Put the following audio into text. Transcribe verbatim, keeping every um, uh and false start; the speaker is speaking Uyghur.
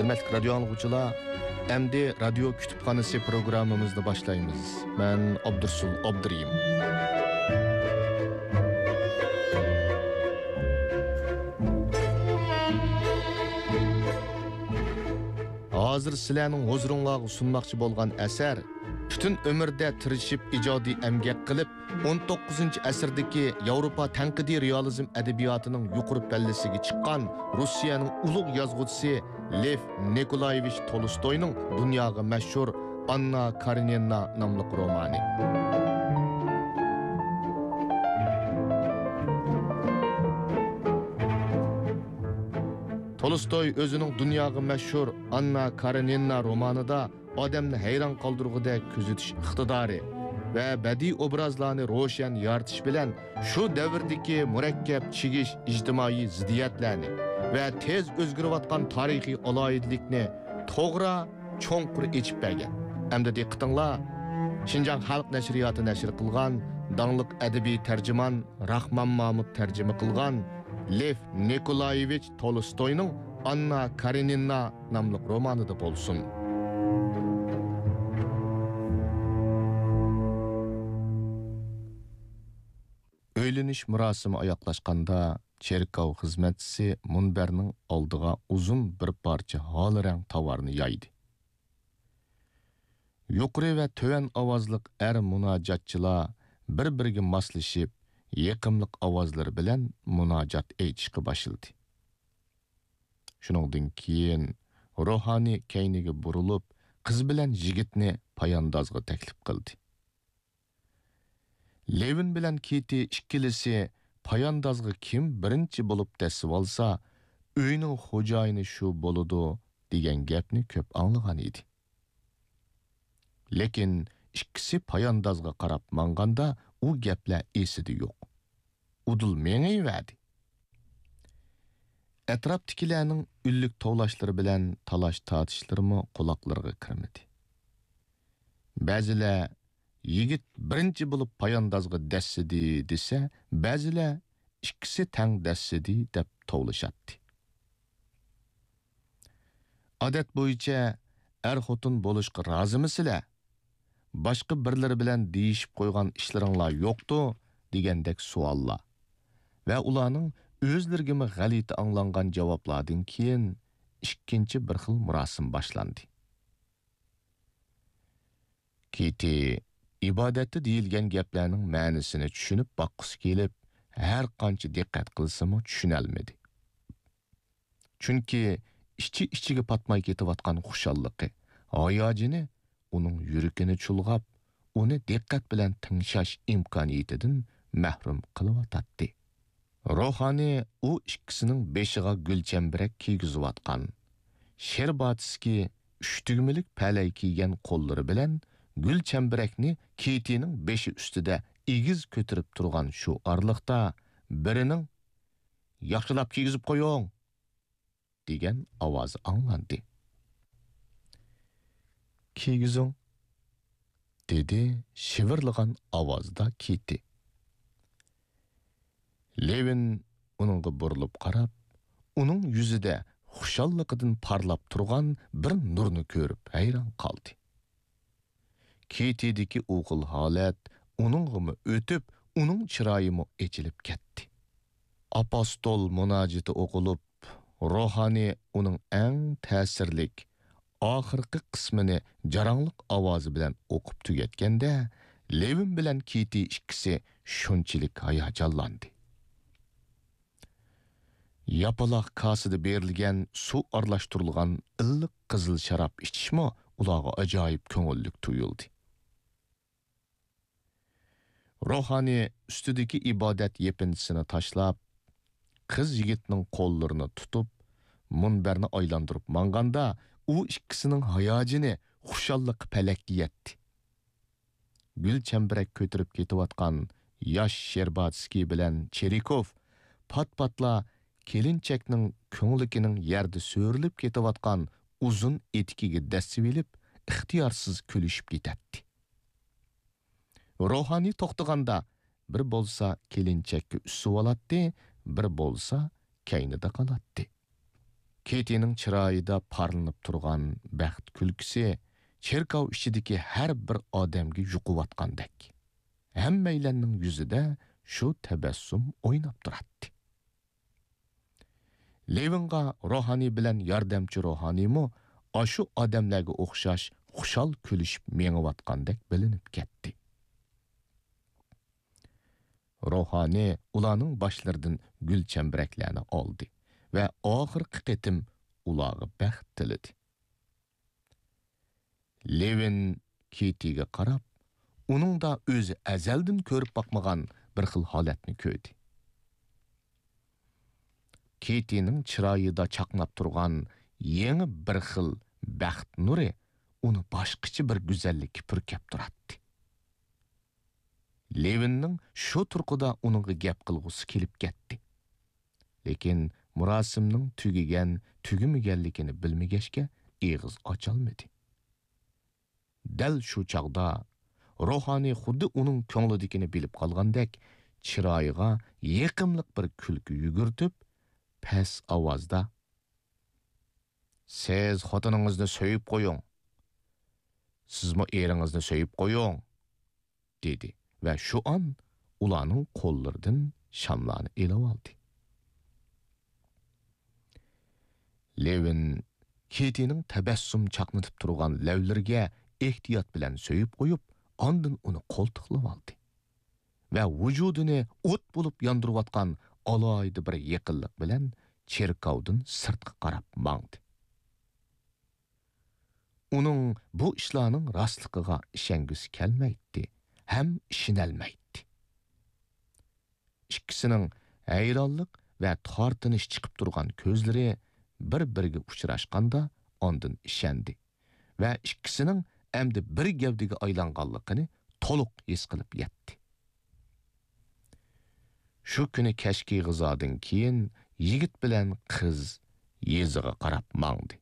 ھۆرمەتلىك رادىيو ئاڭلىغۇچىلار، ئەمدى رادىيو كۇتۇپخانىسى پروگراممىمىزنى باشلايمىز. مەن ئابدۇرسۇل ئابدۇرېھىم. ھازىر سىلەرنىڭ ھۇزۇرۇڭلارغا سۇنماقچى بولغان ئەسەر پۈتۈن ئۆمرىدە تىرىشىپ ئىجادىي ئەمگەك قىلىپ، ئون توققۇزىنچى ئەسىردىكى ياۋروپا تەنقىدىي رېئالىزم ئەدەبىياتىنىڭ يۇقىرى پەللىسىگە چىققان روسىيەنىڭ ئۇلۇغ يازغۇچىسى لېف نىكولايېۋىچ تولستوينىڭ دۇنياغا مەشھۇر ئاننا كارېنىنا ناملىق رومانى. تولستوي ئۆزىنىڭ دۇنياغا مەشھۇر ئاننا كارېنىنا رومانىدا ئادەمنى ھەيران قالدۇرغۇدەك كۆزىتىش ئىقتىدارى ۋە بەدىئىي ئوبرازلارنى روشەن يارىتىش بىلەن شۇ دەۋردىكى مۇرەككەپ چىگىش ئىجتىمائىي زىددىيەتلەرنى ۋە تېز ئۆزگىرىۋاتقان تارىخىي ئالاھىدىلىكنى توغرا، چوڭقۇر ئېچىپ بەرگەن. ئەمدى دىققىتىڭلار، شىنجاڭ خەلق نەشرىياتى نەشر قىلغان داڭلىق ئەدەبىي تەرجىمان راخمان مامۇت تەرجىمە قىلغان لېف نىكولايېۋىچ تولستوينىڭ ئاننا كارېنىنا ناملىق رومانىدا بولسۇن. ئۆيلىنىش مۇراسىمى ئاياغلاشقاندا، چېركاۋ خىزمەتچىسى مۇنبەرنىڭ ئالدىغا ئۇزۇن بىر پارچە ھال رەڭ تاۋارنى يايدى. يۇقىرى ۋە تۆۋەن ئاۋازلىق ئەر مۇناجاتچىلار بىر-بىرىگە ماسلىشىپ، يېقىملىق ئاۋازلىرى بىلەن مۇناجات ئېيتىشقا باشلىدى. شۇنىڭدىن كېيىن روھانى كەينىگە بۇرۇلۇپ، قىز بىلەن يىگىتنى پاياندازغا تەكلىپ قىلدى. لېۋىن بىلەن كىتى ئىككىلىسى پاياندازغا كىم بىرىنچى بولۇپ دەسسىۋالسا، ئۆينىڭ خوجايىنى شۇ بولىدۇ دېگەن گەپنى كۆپ ئاڭلىغان ئىدى. لېكىن ئىككىسى پاياندازغا قاراپ ماڭغاندا ئۇ گەپلەر ئېسىدە يوق. ئۇدۇل مېڭىۋەردى. ئەتراپتىكىلەرنىڭ ئۈنلۈك توۋلاشلىرى بىلەن تالاش-تارتىشلىرىمۇ قۇلاقلىرىغا كىرمىدى. بەزىلەر «يىگىت بىرىنچى بولۇپ پاياندازغا دەسسىدى» دېسە، بەزىلەر «ئىككىسى تەڭ دەسسىدى» دەپ توۋلىشاتتى. ئادەت بويىچە «ئەر-خوتۇن بولۇشقا رازىمىسىلەر؟ باشقا بىرلىرى بىلەن دېيىشىپ قويغان ئىشلىرىڭلار يوقتۇ؟» دېگەندەك سوئاللار ۋە ئۇلارنىڭ ئۆزلىرىگىمۇ غەلىتە ئاڭلانغان جاۋابلاردىن كېيىن، ئىككىنچى بىر خىل مۇراسىم باشلاندى. كىتى ئىبادەتتە دېيىلگەن گەپلەرنىڭ مەنىسىنى چۈشىنىپ باققۇسى كېلىپ، ھەر قانچە دىققەت قىلسىمۇ چۈشىنەلمىدى. چۈنكى ئىچى-ئىچىگە پاتماي كېتىۋاتقان خۇشاللىقى، ھاياجىنى ئۇنىڭ يۈرىكىنى چۇلغاپ، ئۇنى دىققەت بىلەن تىڭشاش ئىمكانىيىتىدىن مەھرۇم قىلىۋاتاتتى. روھانى ئۇ ئىككىسىنىڭ بېشىغا گۈلچەمبىرەك كىيگۈزۈۋاتقان، شېرباتسكىي ئۈچ تۈگمىلىك پەلەي كىيگەن قوللىرى بىلەن گۈلچەمبىرەكنى كىتىنىڭ بېشى ئۈستىدە ئېگىز كۆتۈرۈپ تۇرغان شۇ ئارىلىقتا، بىرىنىڭ «ياخشىلاپ كىيگۈزۈپ قويۇڭ!» دېگەن ئاۋازى ئاڭلاندى. «كىيگۈزۈڭ!» دېدى شىۋىرلىغان ئاۋازدا كىتى. لېۋىن ئۇنىڭغا بۇرۇلۇپ قاراپ، ئۇنىڭ يۈزىدە خۇشاللىقىدىن پارلاپ تۇرغان بىر نۇرنى كۆرۈپ ھەيران قالدى. كىتىدىكى ئۇ خىل ھالەت ئۇنىڭغىمۇ ئۆتۈپ، ئۇنىڭ چىرايىمۇ ئېچىلىپ كەتتى. ئاپوستول مۇناجىتى ئوقۇلۇپ، روھانى ئۇنىڭ ئەڭ تەسىرلىك، ئاخىرقى قىسمىنى جاراڭلىق ئاۋازى بىلەن ئوقۇپ تۈگەتكەندە، لېۋىن بىلەن كىتى ئىككىسى شۇنچىلىك ھاياجانلاندى. ياپىلاق كاسىدا بېرىلگەن سۇ ئارىلاشتۇرۇلغان ئىللىق قىزىل شاراب ئىچىشمۇ ئۇلارغا ئاجايىپ كۆڭۈللۈك تۇيۇلدى. روھانى ئۈستىدىكى ئىبادەت يېپىنچىسىنى تاشلاپ، قىز يىگىتنىڭ قوللىرىنى تۇتۇپ، مۇنبەرنى ئايلاندۇرۇپ ماڭغاندا، ئۇ ئىككىسىنىڭ ھاياجىنى، خۇشاللىقى پەلەككە يەتتى. گۈل چەمبىرەك كۆتۈرۈپ كېتىۋاتقان ياش شېرباتسكىي بىلەن چېرىكوف پات-پاتلا كېلىنچەكنىڭ كۆڭلىكىنىڭ يەردە سۆرىلىپ كېتىۋاتقان ئۇزۇن ئېتىكىگە دەسسىۋېلىپ، ئىختىيارسىز كۈلۈشۈپ كېتەتتى. روھانى توختىغاندا، بىر بولسا كېلىنچەككە ئۈسۈۋالاتتى، بىر بولسا كەينىدە قالاتتى. كېتىنىڭ چىرايىدا پارلىنىپ تۇرغان بەخت كۈلكىسى چېركاۋ ئىچىدىكى ھەر بىر ئادەمگە يۇقۇۋاتقاندەك، ھەممەيلەننىڭ يۈزىدە شۇ تەبەسسۇم ئويناپ تۇراتتى. لېۋىنغا روھانىي بىلەن ياردەمچى روھانىيمۇ ئاشۇ ئادەملەرگە ئوخشاش خۇشال كۈلۈشۈپ مېڭىۋاتقاندەك بىلىنىپ كەتتى. روھانىي ئۇلارنىڭ باشلىرىدىن گۈل چەمبىرەكلەرنى ئالدى ۋە ئاخىرقى قېتىم ئۇلارغا بەخت تىلىدى. لېۋىن كېتىگە قاراپ، ئۇنىڭدا ئۆزى ئەزەلدىن كۆرۈپ باقمىغان بىر خىل ھالەتنى كۆردى. كېتىنىڭ چىرايىدا چاقناپ تۇرغان يېڭى بىر خىل بەخت نۇرى ئۇنى باشقىچە بىر گۈزەللىككە پۈركەپ تۇراتتى. لېۋىننىڭ شۇ تۇرقىدا ئۇنىڭغا گەپ قىلغۇسى كېلىپ كەتتى. لېكىن مۇراسىمنىڭ تۈگىگەن، تۈگىمىگەنلىكىنى بىلمىگەچكە، ئېغىز ئاچالمىدى. دەل شۇ چاغدا روھانىي خۇددى ئۇنىڭ كۆڭلىدىكىنى بىلىپ قالغاندەك، چىرايىغا يېقىملىق بىر كۈلكە يۈگۈرتۈپ، پەس ئاۋازدا، «سىز خوتۇنىڭىزنى سۆيۈپ قويۇڭ. سىزمۇ ئېرىڭىزنى سۆيۈپ قويۇڭ.» دېدى ۋە شۇ ئان ئۇلارنىڭ قوللىرىدىن شاملارنى ئېلىۋالدى. لېۋىن كېتىنىڭ تەبەسسۇم چاقنىتىپ تۇرغان لەۋلىرىگە ئېھتىيات بىلەن سۆيۈپ قويۇپ، ئاندىن ئۇنى قولتۇقلىۋالدى ۋە ۋۇجۇدىنى ئوت بولۇپ ياندۇرۇۋاتقان ئالاھىدە بىر يېقىنلىق بىلەن چېركاۋدىن سىرتقا قاراپ ماڭدى. ئۇنىڭ بۇ ئىشلارنىڭ راستلىقىغا ئىشەنگۈسى كەلمەيتتى ھەم ئىشىنەلمەيتتى. ئىككىسىنىڭ ھەيرانلىق ۋە تارتىنىش چىقىپ تۇرغان كۆزلىرى بىر-بىرىگە ئۇچراشقاندا ئاندىن ئىشەندى ۋە ئىككىسىنىڭ ئەمدى بىر گەۋدىگە ئايلانغانلىقىنى تولۇق ھېس قىلىپ يەتتى. شۇ كۈنى كەچكى غىزادىن كېيىن يىگىت بىلەن قىز يېزىغا قاراپ ماڭدى.